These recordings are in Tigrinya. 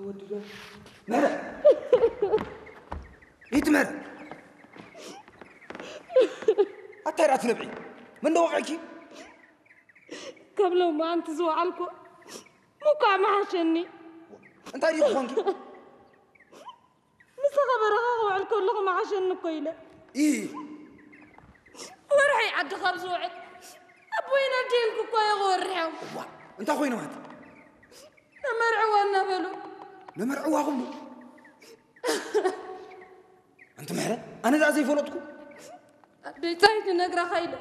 ወዲ ዶ? ምህረ! ኢቲ ምህረ! ኣታይ ራት ነብዒ? መን ደወቐኪ? ካብ ሎማዓንቲ ዝወዓልኩ ምኳዕ መሓሸኒ። እንታይ ድዩ ክኾንኪ? ምሳኻ በረኻ ክውዕል ከለኹ መሓሸኒ እኮ ኢለ። ኢ ወርሒ ዓዲ ካብ ዝውዕል ኣቦይን ኣዴን ክኮ የወርሖም። ዋ እንታይ ኮይኖም ኣቲ? ነመርዕዋ እናበሉ ነመርዕዋ ክብሉ ኣንቲ ምሕረ ኣነ ዛ ዘይፈለጥኩ ኣደይ ታይ ትነግረኻ ኢለ።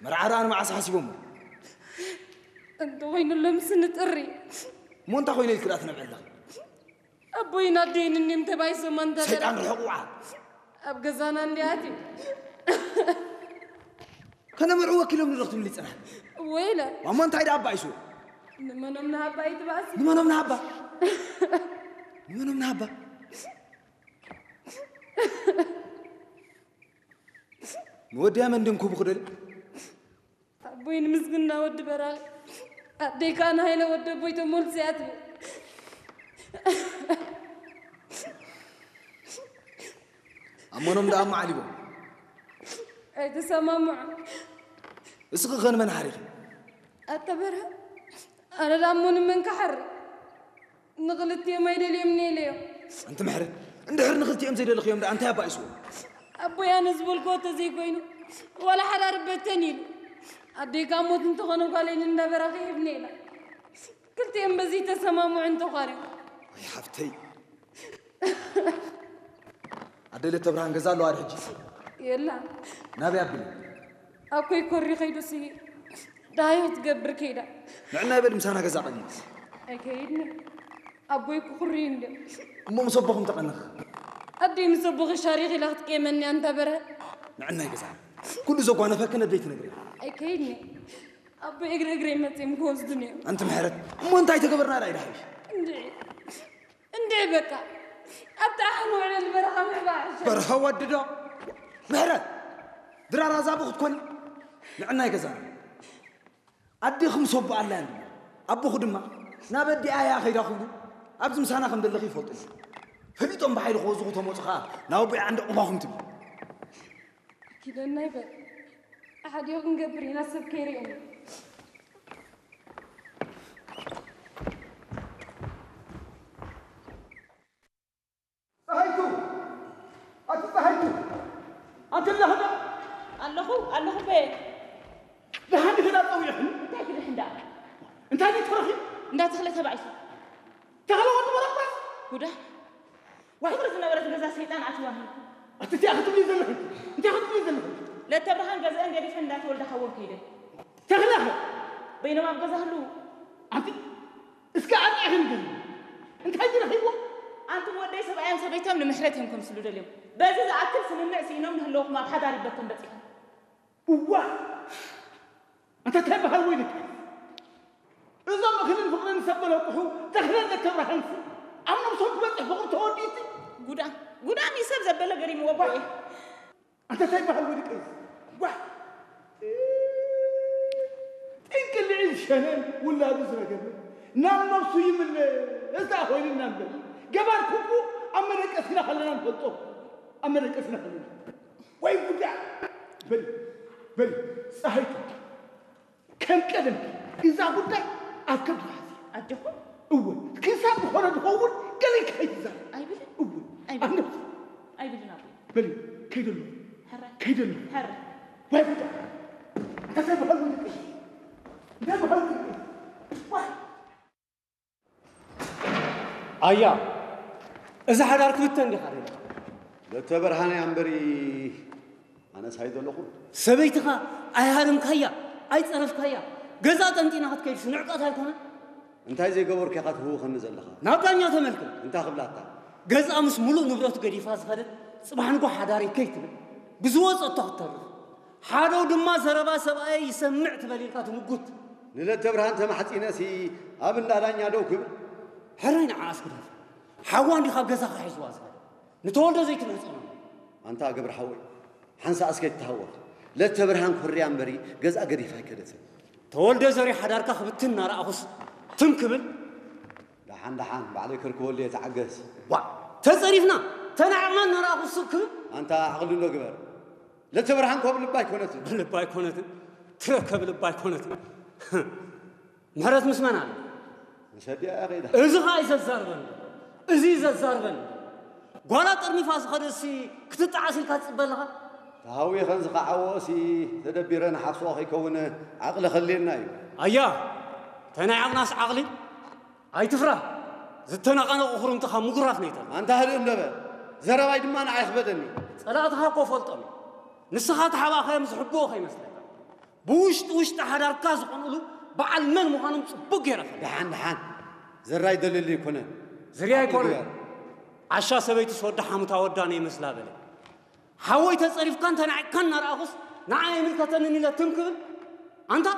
መርዓ ደኣ ንመዓስ ሓሲቦሞ እንተኾይኑ ሎምስ ንጥሪ እሞ እንታይ ኮይነ ኢልክ ደኣ ትነብዕ ኣለኻ ኣቦይን ኣደይን እኒም ተባይሶም ኣንተ ሰይጣን ርሕቕ ውዓ ኣብ ገዛና እንዲኣት እዩ ከነመርዑ ወኪሎም ንረኽትብሊ ፅናሕ ወይለ እሞ እንታይ ደኣ ኣባይሱ ንመኖም ንሃባ ይትባእሲ ንመኖም ንሃባ ንመኖም ንሃባ ንወድያ መን ድንኩቡ ክደል ኣቦይ ንምስግና ወዲ በራኺ ኣደይ ከዓ ንሃይለ ወዲ ኣቦይ ተሞልሲ እያ ትብል ኣሞኖም ደኣ ኣመዓሊቦም ኣይተሰማምዖ እስኺ ኸን መን ሓሪኺ ኣተበርሀ ኣነ ዳሞ ንመን ክሓሪ ንኽልቲኦም ኣይደልዮም ነይለዮም ኣንቲ ምሕረ እንድሕር ንኽልቲኦም ዘይደለኽዮም ደኣ እንታይ ኣባኢስዎ ኣቦይ ኣነ ዝበልክዎ ተዘይኮይኑ ዋላ ሓዳር በተን ኢሉ ኣደይ ካብ ሞት እንተኾነ ጓለይን እንዳበራኺ ሂብኒ ኢላ ክልቲኦም በዚ ተሰማምዑ እንተዃርዮም ወይ ሓፍተይ ኣደይ ለተብርሃን ገዛ ኣለዋ ዶ ሕጂ የላ ናበይ ኣቢሉ ኣኮይ ኮሪ ከይዱ ስሂ ዳሃዮ ትገብር ከይዳ ንዕና ይበል ምሳና ገዛ ቀኒት ኣይከይድኒ ኣቦይ ክኩሪ እንደ እሞ ምስ ኣቦኹም ተቐንኽ ኣደይ ምስ ኣቦኺ ሻሪኽ ኢላ ክትቀየመኒ ኣንታ በረ ንዕናይ ገዛ ኩሉ ዘጓነፈክን ኣደይ ትነግሪ ኣይከይድኒ ኣቦይ እግሪ እግረይ መፅኦም ክወስዱኒ እዮም ኣንቲ ምሕረት እሞ እንታይ ተገበርና ዳይ ዳሓይሽ እንድዒ እንድዒ በቃ ኣብቲ ኣሕን ውዕለል በረኻ ምዕባእ ሕሸ በርሀ ወዲ ዶ ምሕረት ድራር ኣዛቡ ክትኮኒ ንዕናይ ገዛና ኣዴኺ ምስ ኣቦ ኣላ እንዲ ኣቦኹ ድማ ናብ ኣዲኣ እያ ከይዳ ክብሉ ኣብዚ ምሳና ከም ዘለኺ ይፈልጡ እዮም። ፈሊጦም ብሓይሊ ክወዝኹ ተመፁ ከዓ ናብ ኣቦይ ዓንዲ ቁማኹም ትብሉ ኪደና ይበል ሓዲኡ ክንገብር ኢና ሰብ ከይርእየና ፀሃይቱ ኣቲ ፀሃይቱ ኣንቲ ላህዳ ኣለኹ ኣለኹ በ ደሓን ክዳ ፀዊዕኽኒ እንታይ ክድሕን ደኣ እንታይ ድዩ ተረኺቡ እንዳተኽለ ተባኢሱ ተኽለ ወዲ በረባስ ጉዳ ዋሕብሪ ዝነበረት ገዛ ሰይጣን ኣትዋኒ ኣቲ እንታይ ክትብሊ ዘለኺ እንታይ ክትብሊ ዘለኺ ለተብርሃን ገዛአን ገዲፈን እንዳተወልደ ካወን ከይደ ተኽለኸ በይኖም ኣብ ገዛ ህልው ኣንቲ እስከ ኣርኢኽን ግን እንታይ ዝረኺብዎ ኣንቱም ወደይ ሰብኣዮም ሰበይቶም ንምሕረት እዮም ከምስሉ ደልዮም በዚ ዝኣክል ስምምዕ ስኢኖም ንህለውኹም ኣብ ሓዳር ይበተን በፂኹም እዋ ኣንተ እንታይ በሃል ወይ ደቂ እዞም እኽልን ፍቕርን ሰብ በለቁሑ ተኽለን ለተብርሃንሲ ኣብ ነብሶም ክበፅሕ ፍቕሪ ተወዲእቲ ጉዳ ጉዳ ሚሰብ ዘበለ ገሪምዎ ቦኤ ኣንተ እንታይ በሃል ወይ ደቂ ዋ ጥንቅልዒ ዝሸነን ውላዱ ዝረገመ ናብ ነብሱ ይምለስ ደኣ ኮይንና እምበር ገባር ኩኩ ኣብ መደቀስና ከለና ንፈልጦ ኣብ መደቀስና ከለና ወይ ጉዳ በል በል ፀሃይቱ ከም ቀደም እዛ ጉዳይ ኣብ ከብዲ ሓዚ ኣጆኹም እወ ክሳብ ዝኾነ ዝኸውን ገለ ከይትዛረብ ኣይብልን እወ ኣይብልን ኣነብሱ ኣይብልን ኣቦ በል ከይደሎ ሕራይ ከይደሎ ሕራይ ወይ ጉዳ እንታይ በሃል ወይ ደቂ እንታይ በሃል ወይ ደቂ ዋይ ኣያ እዛ ሓዳር ክልተ እንዲኻ ደለ ለተበርሃነ ኣንበሪ ኣነስ ኣይደለኹ ሰበይትኻ ኣይሃረምካያ ኣይፀረፍካያ ገዛ ጠንጢና ክትከይድስ ንዕቀት ኣይኮነ እንታይ ዘይገበርኩ ኢኻ ትህውኸኒ ዘለኻ ናብ ዳኛ ተመልክት እንታይ ክብላታ ገዝኣ ምስ ሙሉእ ንብረቱ ገዲፋ ዝኸደት ፅባሕ ንጎ ሓዳሪ ከይትብል ብዝወፀቶ ክትተርፍ ሓደው ድማ ዘረባ ሰብኣየ ይሰምዕ ትበል ኢልካ ትምጉት ንለተብርሃን ተማሕፂነሲ ኣብ እንዳ ዳኛ ደው ክብል ሕራይ ንዓኣስ ግደፍ ሓዋ እንዲ ካብ ገዛኻ ሒዝዋ ዝኸደ ንተወልዶ ዘይትምህፀኖ ኣንታ ገብረ ሓወይ ሓንሳእ እስከ ይተሃወኽ ለተብርሃን ኮርያ እምበሪ ገዝኣ ገዲፋ ኣይከደትን ተወልደ ዘሪ ሓዳርካ ክብትን እናረኣኹስ ትም ክብል። ደሓን ደሓን ባዕለይ ከርክበሉ እየ፣ ተዓገስ። ዋ፣ ተጸሪፍና ተናዕቕና እናረኣኹስ ትም ክብል። ኣንታ ዓቕሊ እንዶ ግበር። ለተብርሃን ኮብ ልባ ኣይኮነትን። ልባ ኣይኮነትን። ትረከብ ልባ ኣይኮነትን። ምሕረት ምስ መን ኣሎ? ምስ ኣዲኣ እያ ከይዳ። እዚ ኸኣ እዩ ዘዛርበኒ። እዚ እዩ ዘዛርበኒ። ጓላ ጠርኒፋ ዝኸደሲ ክትጠዓስ ኢልካ ትጽበ ኣለኻ? ተሃዊኸን ዝኸዓወኦሲ ተደቢረ ንሓፍስኦ ከይከውን ዓቕሊ ከልየና እዩ። ኣያ፣ ተናዒቕናስ ዓቕሊ? ኣይትፍራ። ዝተነቓነቑ ኹርምትኻ ምጉራፍ ነይተን። ኣንታ ህድእ እንዶ በል። ዘረባይ ድማ ንዓይ ክበደኒ። ጸላእትኻ እኮ ፈልጦም እዩ። ንስኻ ተሓባእኻዮም ዝሕብኦ ከይመስለካ። ብውሽጢ ውሽጢ ሓዳርካ ዝቐንእሉ በዓል መን ምዃኖም ጽቡቕ ገይረ እፈልጥ። ደሓን ደሓን። ዘራይ ደልል ኣይኮነን። ዝርያ ኣይኮነን። ግበር። ዓሻ ሰበይትስ ወዲ ሓሙታ ወዳ ነይመስላ በለ። ሓወይ ተጸሪፍካን ተናዒቕካን እናረኣኹስ ንዓይ ኣይምልከተንን ኢለ ትም ክብል? ኣንታ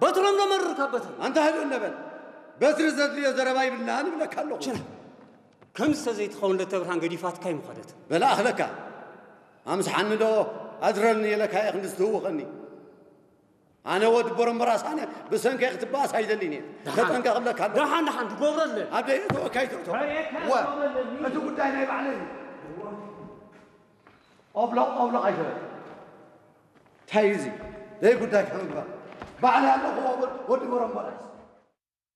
በትሮም ዶ መርር ካብ በትሪ? ኣንታ ህድእ እንዶ በል። በትሪ ዘድልዮ ዘረባ ይብልናን እብለካ ኣለኹ። ችላ። ከምዚ ተዘይትኸውን ለተብርሃን ገዲፋትካ ኣይምኸደትን። በላ ኣኽለካ። ኣምስሓኒ ዶ ኣድረልኒ ኢለካ እየ ክንዲ ዝትህውኸኒ። ኣነ ወዲ ቦረምበራስ ኣነ ብሰንከይ ክትበኣስ ኣይደልን እየ። ደሓን። ተጠንቀቕ እብለካ ኣለኹ። ደሓን፣ ደሓን፣ ትገብረለን። ኣብ ደይ እተወካይ ትእቶ። በሬካ ወ-፣ ትገብረለን። እቲ ጉዳይ ናይ ባዕለይ እዩ። ኦብሎቕ፣ ኦብሎቕ ኣይትበል። እንታይ እዩ እዚ? ደይ ጉዳይ ከምግባር። ባዕለይ ኣለኹ ወ-፣ ወዲ ቦረምበራስ።